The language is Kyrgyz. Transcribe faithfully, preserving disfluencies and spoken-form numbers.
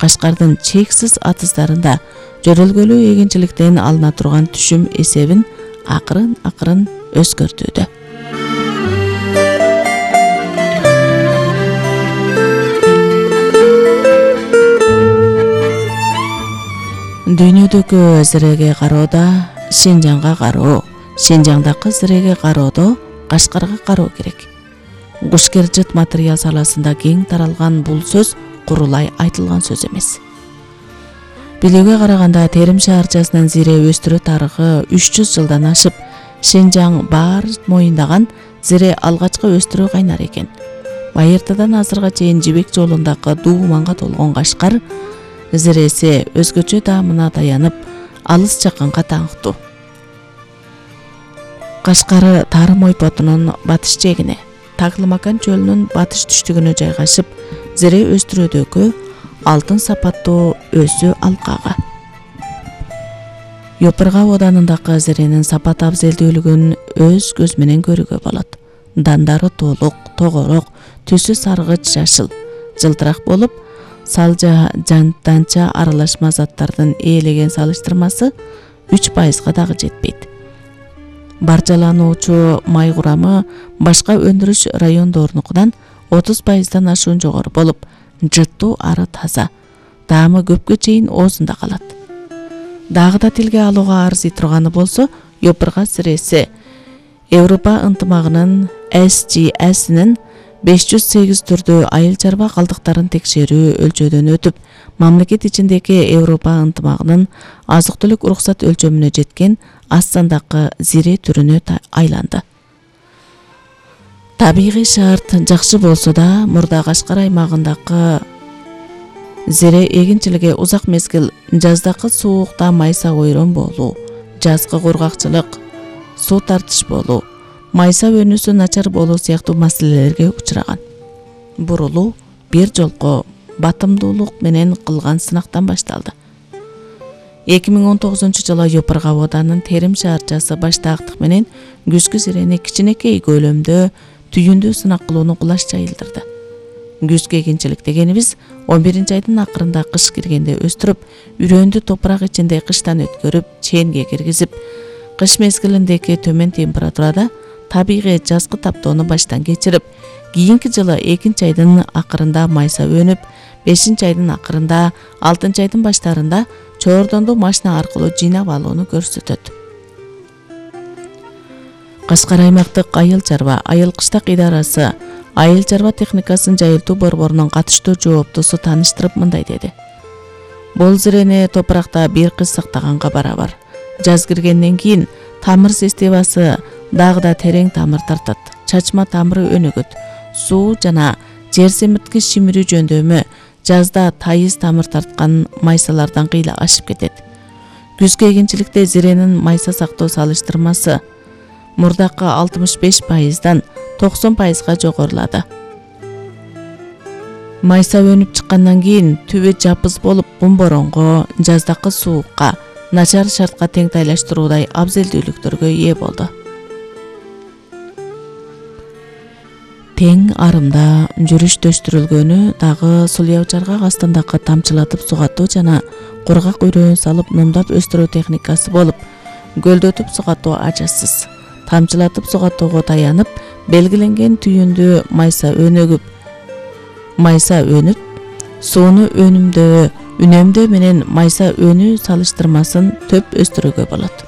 Кашкардын чексиз атыздарында жөрөлгөлүү эгинчиликтен алына турган түшүм эсебин акырын акырын өзгөртүүдө. Дүйнөдөгү зиреге кароодо Шинжаңга кароо, Шинжаңдагы зиреге кароодо Кашкарга кароо керек. Кушкер-жыт материал саласында кең таралган бул сөз курулай айтылган сөз эмес. Билүүгө караганда Терим шаарчасынын зире өстүрүү тарыхы үч жүз жылдан ашып, Шинжаң баар моюндаган зире алгачкы өстүрүү кайнар экен. Байыртадан азырга чейин жибек жолундагы дууманга толгон Кашкар зиресе өзгөчө даамына таянып, алыс жакынга таңктуу. Кашкар Тарым ойпотунун батыш жегине, Таклымакан чөлүнүн батыш түштүгүнө жайгашып, зире өстүрүүдөгү алтын сапаттуу өзү алкага. Йопырга оданындагы зиренин сапат абзелдүүлүгүн өз көз менен көрүүгө болот. Дандары толук, тогорок, түсү саргыч жашыл, жылтырак болуп, салжа жанданча аралашма заттардын ээлеген салыштырмасы үч пайызга дагы жетпейт. Баржалануучу май курамы башка өндүрүш райондорунукунан отуз пайыздан ашуун жогору болуп, жыттуу ары таза, даамы көпкө чейин оозунда калат. Дагы да тилге алууга арзый турганы болсо, Йопырга зиресе Европа ынтымагынын эс джи эсинин беш жүз сегиз түрдүү айыл чарба калдыктарын текшерүү өлчөдөн өтүп, мамлекет ичиндеги Европа ынтымагынын азык-түлүк уруксат өлчөмүнө жеткен аз сандагы зире түрүнө айланды. Табигый шарт жакшы болсо да, мурда Кашкар аймагындагы зире эгинчилиги узак мезгил жаздагы суукта майса ойрон болуу, жазгы кургакчылык, суу тартыш болуу, майса өнүүсү начар болуу сыяктуу маселелерге учураган. Бурулуу бир жолку батымдуулук менен кылган сынактан башталды. эки миң он тогузунчу жылы Йопырга оданын Терим шаарчасы баштаактык менен күзгү зирени кичинекей көлөмдө түйүндүү сынак кылууну кулаш жайылдырды. Күзгү эгинчилик дегенибиз он биринчи айдын акырында кыш киргенде өстүрүп, үрөндү топурак ичинде кыштан өткөрүп, чээнге киргизип, кыш мезгилиндеги төмөн температурада табигый жазгы таптоону баштан кечирип, кийинки жылы экинчи айдын акырында майса өнүп, бешинчи айдын акырында, алтынчы айдын баштарында чоордонду машина аркылуу жыйнап алууну көрсөтөт. Кашкар аймактык айыл чарба, айыл кыштак идарасы айыл чарба техникасын жайылтуу борборунун катыштуу жооптусу тааныштырып мындай деди. Бул зирени топуракта бир кыз сактаганга барабар. Жаз киргенден кийин тамыр системасы дагы да терең тамыр тартат, чачма тамыры өнүгөт, суу жана жер семирткич шимирүү жөндөмү жазда тайыз тамыр тарткан майсалардан кыйла ашып кетет. Күзгү эгинчиликте зиренин майса сактоо салыштырмасы мурдакы алтымыш беш пайыздан токсон пайызга жогорулады. Майса өнүп чыккандан кийин түбү жапыз болуп, бумборонго, жаздакы суукка, начар шартка теңтайлаштыруудай абзелдүүлүктөргө ээ болду. Тең арымда жүрүштөштүрүлгөнү дагы сулуяучаргак астындагы тамчылатып сугатуу жана кургак үрөөн салып нумдап өстүрүү техникасы болуп, көлдөтүп сугатуу ажасыз. Тамчылатып сугатууга таянып, белгиленген түйүндү майса өнүгүп, майса өнүп, сууну өнүмдөө, үнөмдөө менен майса өнүү салыштырмасын төп өстүрүүгө болот.